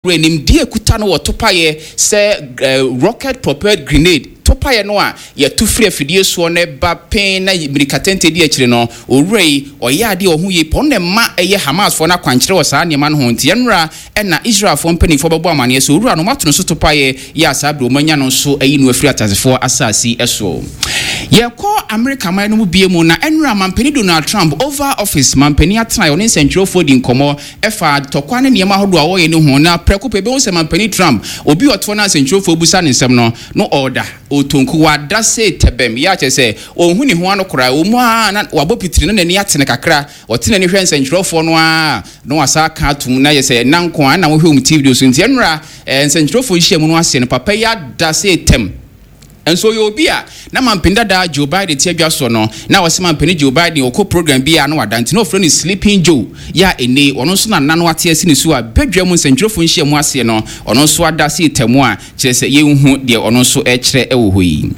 Wura nimdeɛ a ɛkuta no wɔ topaeɛ sɛ rocket propelled grenade, topaeɛ no a yɛto firi afidie soɔ na ɛba pee na mmirikatɛntɛ di akyire no, owura yi, ɔyɛ adeɛ a ɔho yie paa. Ɔno na ɛma ɛyɛ Hamasfoɔ no akwankyerɛ wɔ saa nneɛma no ho. Nti ɛnnora na Israelfoɔ mpanimfoɔ bɛbɔ amaneɛ sɛ owura no wɔato no so topaeɛ yi a saa berɛ wɔanya no nso ayi no afiri ateasefoɔ asase soɔ. Yɛkɔ Amerika man no mu bio mu na ɛnnora Mampanin Donald Trump, Oval Office, mampanin atenaeɛ, ɔne nsɛntwerɛfoɔ di nkɔmmɔ Ɛfa ntɔkwa ne nneɛma ahodoɔ a wɔyɛ no ho, na prɛko pɛ yɛbɛhu sɛ Mampanin Trump, obi a ɔtoɔ no a nsɛntwerɛfoɔ bisa no nsɛm no, no ɔreda, ɔretɔ nku, wada sei tɛbɛm, yɛ a kyerɛ sɛ ɔnhu ne ho ano koraa, ɛwɔ mu ara na wabɔ pitiri na n'ani ate no kakra, ɔte n'ani hwɛ nsɛntwerɛfoɔ no ara a na wasan aka atom, na yɛ sɛ nna nko ara na wohwɛ wɔn TV so, nti ɛnnora nsɛntwerɛfoɔ nhyiamu no aseɛ no, papa yi ada sei tɛm. Nso ɔyɛ obi a na mampanin dada Joe Biden te adwa soɔ no, na ɔse mampanin Joe Biden ɔkɔ program bi a na wada nti na ɔfrɛ no Sleeping Joe yɛ a ɛnnɛ yi ɔno nso na nna no ate asi ne so a badwa mu nsɛntwerɛfoɔ nhyiamu aseɛ no ɔno nso ada ase tamu a kyerɛ sɛ yɛnhu deɛ ɔno nso rekyerɛ wɔ hɔ yi.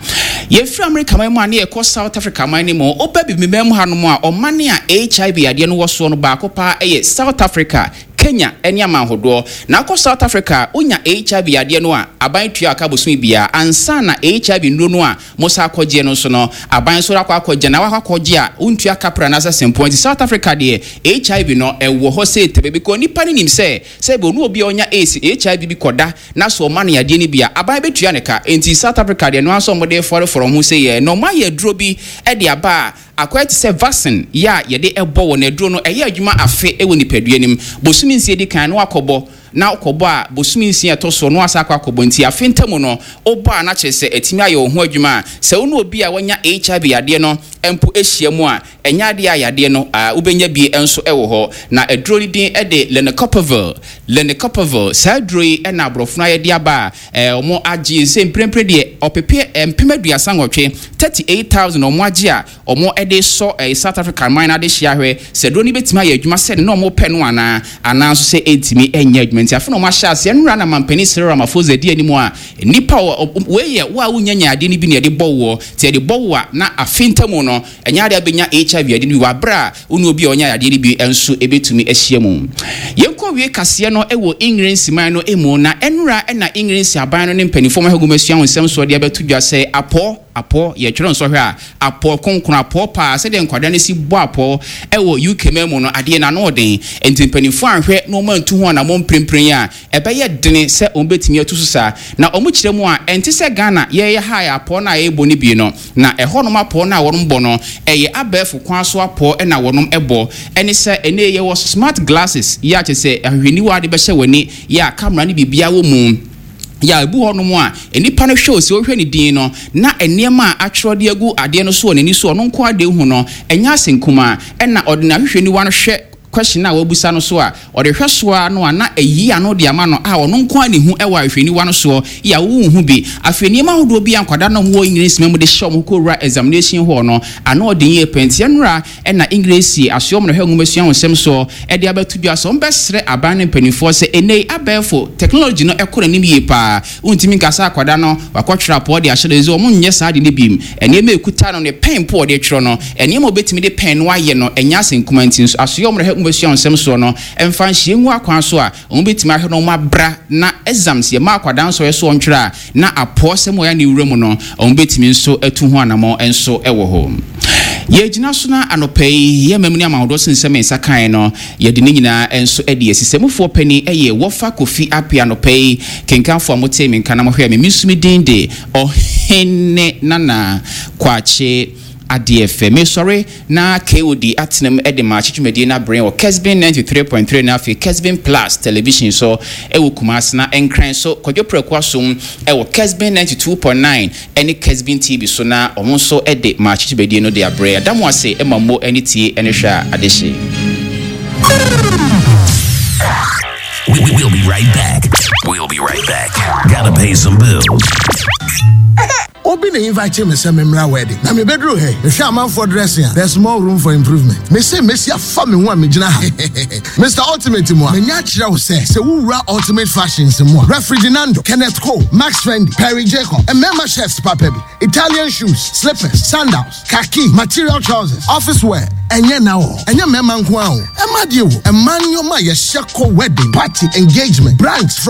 Yɛfiri Amerika man mu a na yɛkɔ South Africa man no mu, woba Abibiman mu hanom a ɔman a HIV yadeɛ no wɔ soɔ no baako paa yɛ South Africa Kenya ne aman hodoɔ. Na wokɔ South Africa a, wonya HIV yadeɛ no a, aban tua wo ka bosome biara. Ansa na HIV nnuro no a mosan akɔgyeɛ no nso no, aban nso akɔ akɔgye. Na woakɔ akɔgye a, wontua kapra anaasɛ sempɔn. Nti South Africa deɛ, HIV no, ɛwɔ hɔ sei tɛbɛ because nnipa no nim sɛ, sɛ ebia ɔne obi a ɔnya AIDS, HIV bi kɔda na sɛ ɔma no yadeɛ no bi a, aban bɛtua ne ka. Nti South Africa deɛ, ɛno ara nso a wɔde refɔrefɔre wɔn ho sei ɛ. Na wɔayɛ aduro bi de aba a, Akɔyɛ te sɛ vaccine yɛ a yɛde bɔ wɔ na aduro no ɛyɛ adwuma afe wɔ nipadua no mu. Bosome nsia di kan na wakɔbɔ, na wokɔbɔ a bosome nsia ɛtɔ soɔ na wasan akɔ akɔbɔ nti afe ntamu no wobɔ a na kyerɛ sɛ atumi ayɛ wo ho adwuma a sɛ wo ne obi a wanya HIV yadeɛ no mpo hyia mu a ɛnyɛ adeɛ a yadeɛ no a wobɛnya bi nso wɔ hɔ. Na aduro no din de Lenacapavir, Lenacapavir, saa aduro yi na aborɔfo no ayɛ de aba a Wɔn agye sɛ mprempren deɛ ɔpepe 38,000, 38,000, wɔn agye a wɔn de resɔ South Africa man no adehyeɛ ahwɛ sɛ aduro no bɛtumi ayɛ adwuma sɛdeɛ na wɔn pɛ no anaa, anaa nso sɛ ɛntumi nyɛ adwuma. Nti afei na wɔn ahyɛ aseɛ. Nnora na mampanin Cyril Ramaphosa di anim a nnipa a wei yɛ wo a wonnya nyaa adeɛ no bi na yɛde bɔ woɔ, nti yɛde bɔ wo a na afe ntamu no ɛnyɛ adeɛ a wobɛnya HIV adeɛ no bi wɔ aberɛ a Wo ne obi a ɔnya yadeɛ no bi nso bɛtumi ahyia mu. Yɛnkɔ wie kaseɛ no wɔ Engiresi man no mu na ɛnora na Engiresi aban no ne mpaninfoɔ ma nwomasua ho nsɛm soɔ de abɛto dwa sɛ apɔɔ, apɔɔ, yɛtwerɛ nsɔhwɛ a, apɔɔ kronkron, apɔɔ paa, sɛdeɛ nkwadaa no si bɔ apɔɔ wɔ UK man mu no, adeɛ no ano ɔden. Nti mpaninfoɔ anhwɛ na wɔn antu ho anamɔn mprempren a, Ɛbɛyɛ dene sɛ wɔbɛtumi atu so saa. Na wɔkyerɛ mu a, ɛnte sɛ Ghana yɛyɛ ha a apɔw no a yɛbɔ no bi no. Na ɛhɔnom apɔw no a wɔnom bɔ no, ɛyɛ abɛɛfo kwan so apɔw na wɔnom bɔ. Ɛne sɛ, ɛnnɛ yi yɛwɔ smart glasses yi a kyerɛ sɛ ahwehwɛniwa a wode bɛhyɛ w'ani yi a camera ne biribiara wɔ mu yi a ebi wɔ hɔnom a nnipa no hwɛ o, sɛ wohwɛ ne din no na nneɛma a atwerɛ de agu adeɛ no so wɔ n'ani so a ɔno nko ara de hu no, ɛnyɛ asɛnkumaa. Ɛna ɔde n'ahwehwɛniwa no hwɛ question a wabisa no so a, ɔde hwɛ so ara no a na ayi ano de ama no a ɔno nko ara na ehu wɔ ahwehwɛniwa no soɔ yi a wonhu bi. Afei nneɛma ahodoɔ bi a nkwadaa no a wɔwɔ Engiresima mu de hyɛ wɔn ho kɔwura examination hall no, ano ɔden yie paa. Nti ɛnora na Engiresi asoɛ wɔn na ɛhwɛ nwomasua ho nsɛm soɔ de abɛto dwa sɛ wɔbɛsrɛ aban no mpanimfoɔ sɛ ɛnnɛ yi abɛɛfo technology no kɔ n'anim yie paa. Wontumi nka sɛ akwadaa no wakɔtwerɛ apɔw de ahyɛ no, ɛsɛ sɛ wɔnyɛ saa ade no bio. Nneɛma a ɛkuta no, ne pɛn mpo a ɔde twerɛ no, nneɛma a ɔbɛtumi de pɛn no ayɛ no, ɛnyɛ asɛm kumaa nti nso, asoɛe a wɔde hwɛ nwomasua ho nsɛm soɔ no mfa nhyɛ ngu akwan so a wɔbɛtumi ahwɛ na wɔabra na exams yɛma akwadaa nsɔhwɛ so ɔntwerɛ a na apɔw sɛm a ɔyɛ ne wura mu no, wɔbɛtumi nso atu ho anammɔn nso wɔ hɔ. Yɛgyina so na anɔpa yi, yɛn amamuni amahodoɔ so nsɛm a yɛn nsa kaeɛ no, Yɛde ne nyinaa nso adi asi. Sɛmufoɔ panin yɛ Wɔfa Kofi Appiah anɔpa yi. Kenkanfoɔ a motee me nka na mohwɛɛ me, me nso me din de Ɔhene Nana Kwakye Adeɛfɛ. Mesɔre na KOD atena mu de maakye dwumadie no abrɛ wɔ Kesbin 93.3 na afei Kesbin Plus Television so wɔ Kumasi na Nkran so Kwadwo Prɛko Asom wɔ Kesbin 92.9 ne Kesbin TV so na wɔn nso de ma akyekyerbadie no de abrɛ. Yɛda mo ase ma mo ani tie ne hwɛ a adehye. We'll be right back. We'll be right back. Gotta pay some bills. Obi na invite me sɛ memmra wedding na mebɛduru hɛ mehwɛ amanfoɔ dressing a there's more room for improvement. Mese mesi afa me ho a megyina ha. Mister Ultimate mu a manya akyerɛ wo sɛ sɛ wowura Ultimate Fashions mu a Referee Dinando, Kenneth Cole, Max Fendi, Perry Jacob, mmarima shirts papa bi, Italian shoes, slippers, sandals, khaki, material trousers, office wear, Ɛnyɛ na o, ɛnyɛ mmarima nko ara o, ɛma deɛ o, ɛma nneɛma a yɛhyɛ kɔ wedding, party, engagement, brands from.